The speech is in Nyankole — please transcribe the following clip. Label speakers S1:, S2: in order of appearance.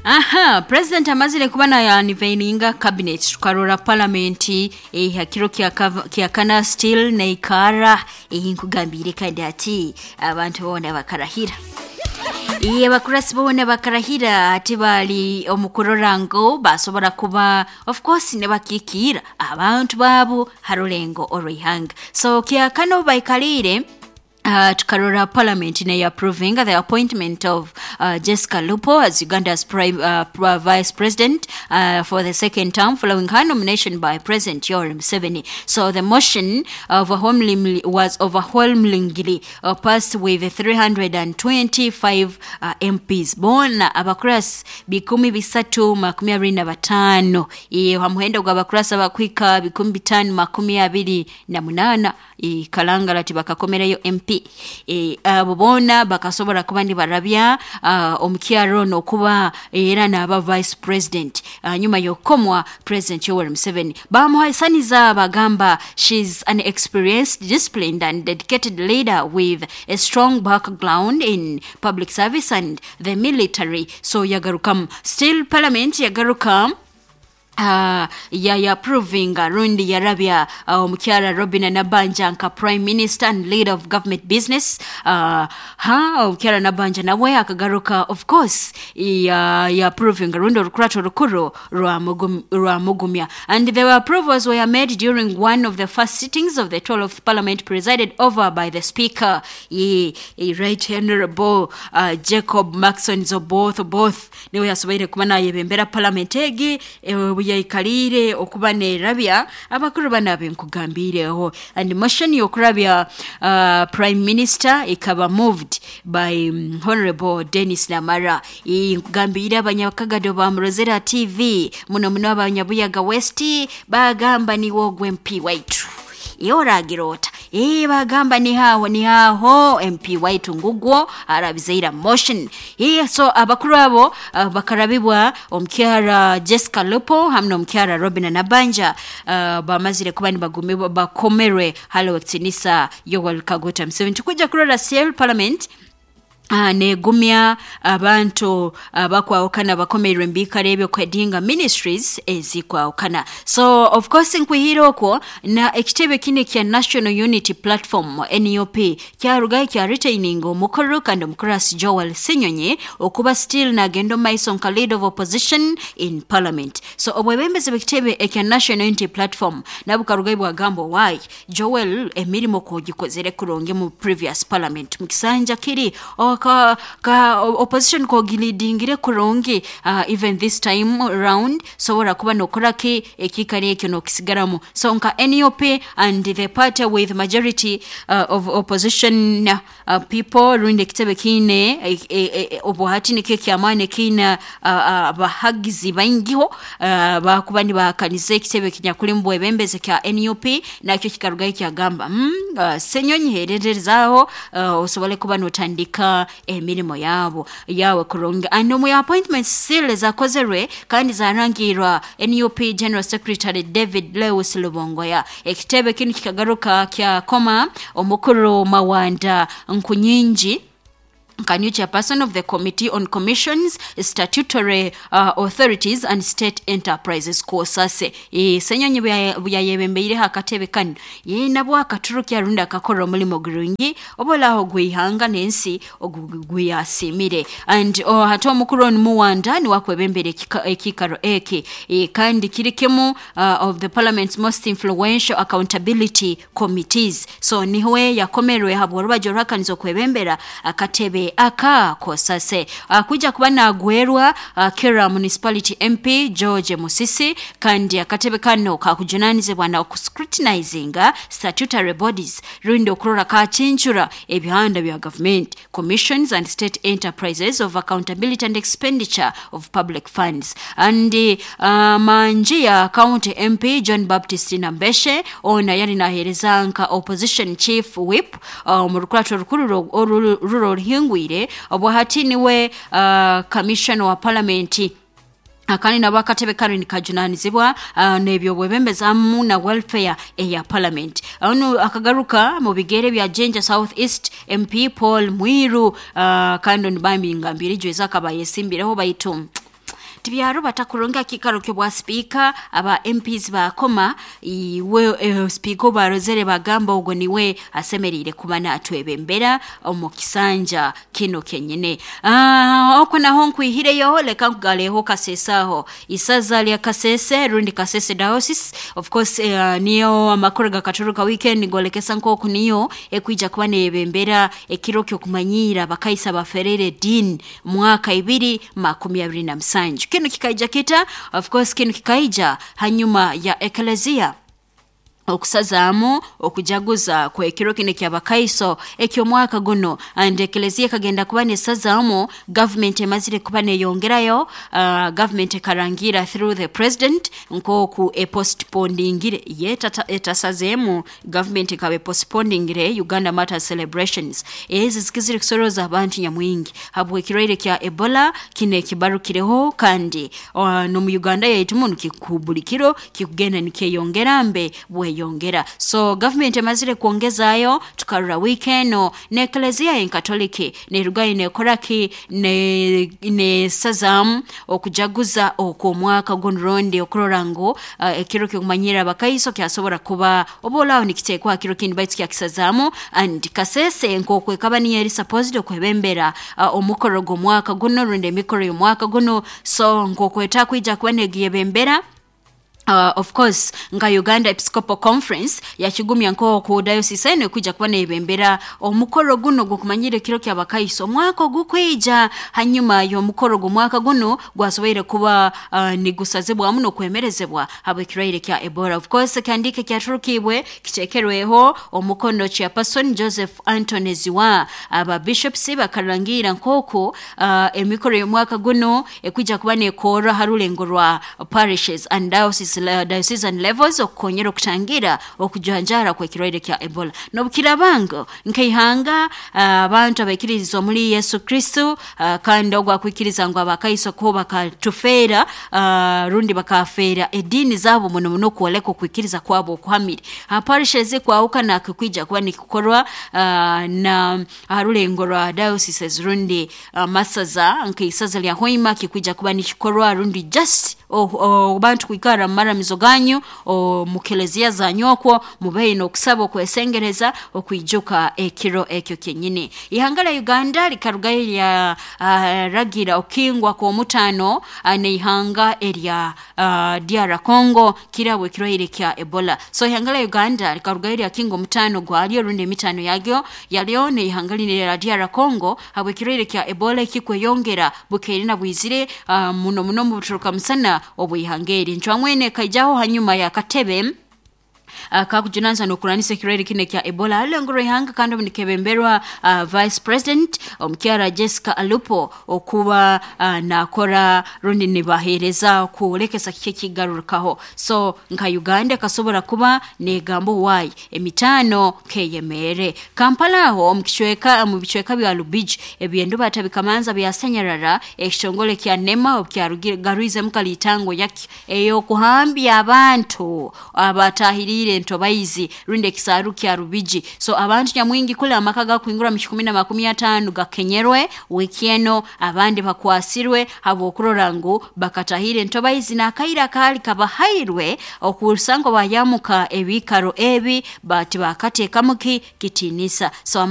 S1: Aha, President amazire kuba na unveilinga cabinet tukarora parliament eh, ha kiro kya kava- kya kana still neikara eh, nkugambiire kandi ati abantu boona bakarahira. Iye abakurasi boona bakarahira ati bali omu kurora ngu basobora kuba of course nibakikiira abantu baabo ha rulengo orw'eihanga. So kya kana obu baikaliire tukarora parliament neya approvinga the appointment of Jessica Lupo as Uganda's prime, vice president for the second term following her nomination by President Yoweri Museveni. So the motion overwhelmingly was overwhelmingly passed with 325 MPs. Boona abakurasi 325 ha muhendo gw'abakurasi abakuhika 528 Kalangala tibakakomerayo MP. Abo boona bakasobora kuba nibarabya omukyara onu okuba era naaba Vice President hanyuma y'okukomwa President Yoweri Museveni. Baamuhaisaniza bagamba she's an experienced, disciplined and dedicated leader with a strong background in public service and the military. So yagarukamu. Still Parliament yagaruka ya approvinga rundi yarabya omukyara Robina Nabbanja nka Prime Minister and leader of government business. Ha omukyara Nabbanja nawe akagaruka of course ya, ya approvinga rundi orukurato rukuru rwamugumya. And the approvals were made during one of the first sittings of the 12th Parliament presided over by the Speaker, ye, Right Honorable Jacob Maxon Oboth Oboth niwe yasoboire kuba nayebembera Parliament egi obu yaikaliire okuba nerabya abakuru banu abenkugambiireho. And motion y'okurabya Prime Minister ekaba moved by Honorable Dennis Namara. Nkugambiire abanyakagado bamurozere ha TV muno muno abanyabuyaga West bagamba niwe ogu MP waitu. Iwe oragira ota? Ee, bagamba nihaho nihaho MP waitu ngugwo arabizeira motion. Ee, so abakuru abo bakarabibwa omukyara Jessica Lupo hamwe n'omukyara Robina Nabbanja bamazire kuba nibagumibwa bakomerwe hali ow'ekitinisa Yoweri Kaguta Museveni. Tukwija kurora CL Parliament negumya abantu abakwahukana abakomeirwe omu biikaro ebyo kwedinga ministries ezikwahukana. So of course nkwihire okwo na ekitebe kinu ekya National Unity Platform NUP kyarugayo kya retaininga omukuru kandi omukurasi Joel Ssenyonyi okuba still nagenda omu maiso nka leader of opposition in parliament. So obwebembezi bw'ekitebe ekya National Unity Platform nabwo bukarugayo bwagamba owai Joel emirimo kwogikozere kurungi mu previous parliament mu kisanja kiri ka, ka opposition kogilidingire kurungi even this time round sobora kuba nokora ki ekiikaro ekyo nokisigaramu. So nka NUP and the party with majority of opposition people rundi ekitebe kiine obu hati nikyo eky'amaani ekiine abahagizi baingiho bakuba nibahakaniza ekitebe ekinyakuli omu bwebembezi kya NUP nakyo kikarugayo kyagamba Ssenyonyi hererezaaho osobole kuba notandika emirimo yabo yawe kurungi. And omu appointments still ezakozerwe kandi zarangiirwa NUP General Secretary David Lewis Lubongoya. Ekitebe kinu kikagaruka kyakoma omukuru Mawanda Nkunyingi nka new chairperson of the Committee on Commissions, Statutory Authorities and State Enterprises, COSASE. Ssenyonyi buyayebembeireho akatebe kanu, nabwo akaturukya rundi akakora omulimo gurungi obolaho ogw'eihanga n'ensi oguyasiimire. And hati omukuru onu Muwanda niwe akwebembera ekiikaro eki kandi kiri kimu of the parliament's most influential accountability committees. So niwe yakomerwe habw'orubaju oruhakaniza okwebembera akatebe aka COSASE. Akwija kuba nagwerwa Kira Municipality MP George Musisi kandi akatebe kanu kakujunanizibwa na okuscrutinizinga statutory bodies rundi okurora kakincura ebihanda bya gavumenti, commissions and state enterprises of accountability and expenditure of public funds. And Manjiya County MP John Baptist Nambeshe onu yali naheereza nka opposition chief whip omu rukurato orukuru oruro oruhingwire obwo hati niwe commissioner wa parliament kandi nabo akatebe kanu nikajunanizibwa n'ebyobwebembezi hamu na welfare eya parliament. Onu akagaruka mu bigere bya Jinja South East MP Paul Mwiru kandi onu bambi ngambire ijweza akaba ayesimbireho baitu Tibyarubata kurungi akikaro ky'obwa sipiika. Aba MPs bakoma iwe sipiika obarozere bagamba ogwo niwe asemeriire kuba natwebembera omu kisanja kino kenyine. Okwo naho nkwihireyo, leka nkugaleho Kasese aho, isaza lya Kasese rundi Kasese Diocese. Of course, niyo amakuru gakaturuka weekend golekesa nk'oku niyo ekwija kuba neyebembera ekiro ky'okumanyiira abakaisa baferere ediini mwaka 2027. Kinu kikaija kita? Of course, kinu kikaija hanyuma ya eklezia okusazaamu okujaguza kwekiro kino ekyabakaiso eky'omwaka guno, and eklezia ekagenda kuba nesazaamu gavumenti emazire kuba neyongerayo. Gavumenti ekarangira through the president nk'oku epostpondingire ye etasazeemu. Gavumenti ekaba epostpondingire Uganda Martyrs celebrations ezi zikizire kusoroza abantu nyamwingi habw'ekirwaire kya Ebola kino ekibarukireho, kandi n'omu Uganda yaitu munu buli kiro kikugenda nikyeyongera mbe bweyongera. So gavumenti emazire kwongezayo, tukarora wiiki eno n'eklezia enkatoliki nerugayo nekoraki, nesazaamu okujaguza okw'omwaka guno rundi okurora ngu ekiro ky'okumanyirra abakaiso kyasobora kuba oba olaaho nikiteekwa ha kiro kindi, baitu kyakisazaamu. And Kasese nk'oku ekaba niyo eri supposed okwebembera omukoro gw'omwaka guno rundi emikoro y'omwaka guno, so nk'oku etakwija kuba negiyebembera, of course nka Uganda Episcopal Conference yakigumya nk'oku diocese eno ekwija kuba neyebembera omukoro guno gw'okumanyira ekiro ky'abakaiso omwaka ogukwija, hanyuma y'omukoro gw'omwaka guno gwasoboire kuba nigusazibwamu n'okwemerezebwa habw'ekirwaire kya Ebola. Of course, ekihandiiko ekyaturukibwe kiteekerweho omukono chairperson Joseph Anthony Ziwa, aba bishops bakarangira nk'oku emikoro y'omwaka guno ekwija kuba nekorra ha rulengo rwa parishes and diocesan levels okukonyera okutangira okujanjara kw'ekirwaire kya Ebola. N'obukirabango nkaihanga abantu abaikiririza omuli Yesu Kristo, kandi ogwo akwikiriza ngu abakaiso ko bakatufeera, rundi bakafeera ediini zaabo muno muno kwoleka okwikiriza kwabo okuhamire, parishes kwahukana kikwija kuba nikikorwa na aha rulengo rwa dioceses rundi masaza, nk'isaza lya Hoima kikwija kuba nikikorwa rundi just bantu kwikara mu maramizo ganyu mu kelezia zanyu okwo mubeire n'okusaba okwesengereza okwijuka ekiro ekyo kyenyini. Ihanga lya Uganda likarugayo lya ragira okukingwa kw'omutaano n'ihanga erya DR Congo kirabwe ekirwaire kya Ebola. So ihanga lya Uganda likarugayo lyakinga omutaano gwalyo rundi emitaano yagyo yalyo n'ihanga lino erya DR Congo habw'ekirwaire kya Ebola ekikweyongera bukeire na bwizire, muno muno mu buturuka musana obw'ihanga eri. Ncwamwene ekaijaho hanyuma y'akatebe kakujunanisa n'okurwanisa ekirwaire kino ekya Ebola alulengo rw'ihanga, kandi obu nikebemberwa vice president omukyara Jessica Alupo okuba nakora rundi nibaheereza kwolekesa kiki ekigarukaho. So nka Uganda ekasobora kuba negamba owaayi emitaano keyemeere. Kampala aho omu kicweka, mu bicweka bya Lubigi ebyendubata bikamanza byasanyarara ekitongole kya NEMA obukyarugirwizemu kalitango yakyo ey'okuhambya abantu abatahiriire entobaizi rundi ekisaaru kya Rubigi. So abantu nyamwingi kule amaka gakwingura mu 150 gakenyerwe wiiki eno, abandi bakwasirwe habw'okurora ngu bakatahire entobaizi n'akaire akaali kabahairwe okusanga bayamuka ebiikaro ebi bati bakateekamu ki kitiinisa. So.